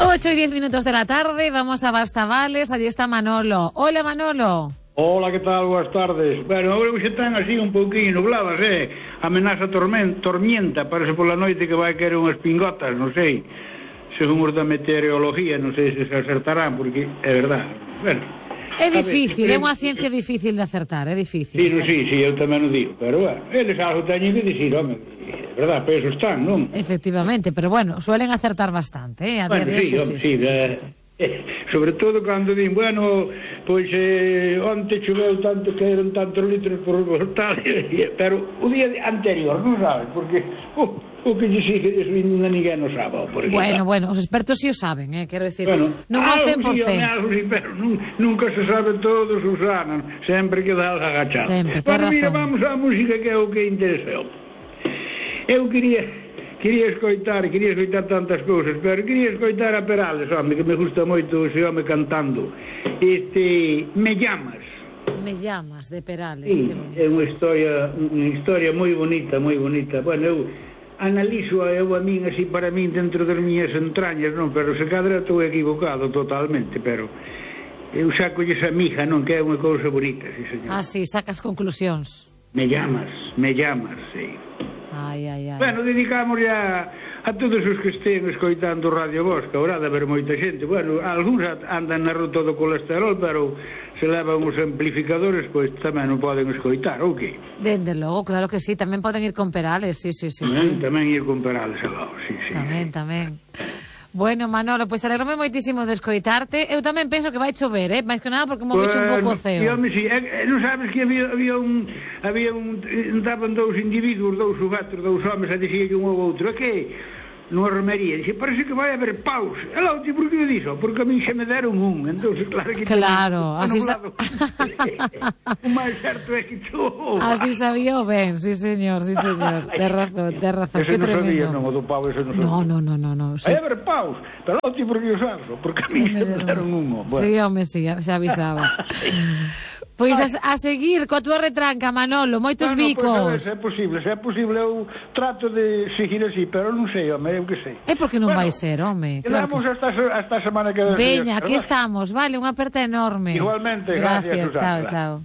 8 y 10 minutos de la tarde, vamos a Bastavales, allí está Manolo. Hola, Manolo. Hola, que tal? Boas tardes. Bueno, agora hoxe están así un pouquinho nubladas, amenaza tormenta, parece pola noite que vai caer unhas pingotas, non sei, según os da meteorología, non sei se acertarán, porque é verdade. Bueno, é difícil, é unha ciencia difícil de acertar, é difícil. Sí, eu tamén o digo, pero bueno, eles algo teñen que dicir, home, é verdade, para eso están, non? Efectivamente, pero bueno, suelen acertar bastante, A bueno, día de hoxe, sí. Sobre todo cando din, bueno, pois onte choveu tanto que eran tantos litros por tal, pero o día anterior non sabes, porque o que lle sigue eso ninguén non sabe. Bueno, os expertos si o saben, quero decir, bueno, non ao 100%. Sí, pero nunca se sabe todos os anos, sempre que dá agachado. Sempre, bueno, mira, vamos á música que é o que interesa. Eu quería escoitar tantas cousas, pero quería escoitar a Perales, home, que me gusta moito ese home cantando. Me llamas. Me llamas, de Perales. Sí, é unha historia moi bonita. Bueno, eu analizo a min así para min dentro das miñas entrañas, non, pero se cadra estou equivocado totalmente, pero eu saco esa mija, non, que é unha cousa bonita, sí, señor. Ah, sí, sacas conclusións. Me llamas, sí. Ai. Bueno, dedicamos a todos os que estén escoitando Radio Bosca. Haurá de haber moita xente. Bueno, algúns andan na ruta do colesterol, pero se levan os amplificadores, pois tamén non poden escoitar, ou que? Dende logo, claro que sí, tamén poden ir con Perales, sí. Tamén ir con Perales, sí. Tamén. Bueno, Manolo, pois alegrome moitísimo de escoitarte. Eu tamén penso que vai chover, máis que nada porque mo vecho un pouco ceo. Sí, non sabes que estaban dous individuos, dous subatos, dous homes, a dicir que un ou outro, que nunha romería, dixe, parece que vai haber paus. E lá, por que dixo? Porque a mí xa me deron un, entón, claro que... Claro, así o máis certo é que chou. Así sabía ben, sí, señor. Ten razón, que tremendo. Ese non sabía, non, o do pau, ese non sabía. No. Vai haber paus, pero lá, por que o sabes? Porque a mí xa me deron un. Sí, home, sí, xa avisaba. Pois a seguir coa túa retranca, Manolo, moitos bicos. Se é posible, eu trato de seguir así, pero non sei, home, eu que sei. É porque non vai ser, home. Quedamos hasta a semana que ven. Veña, aquí estamos, vale, unha aperta enorme. Igualmente, gracias, chao.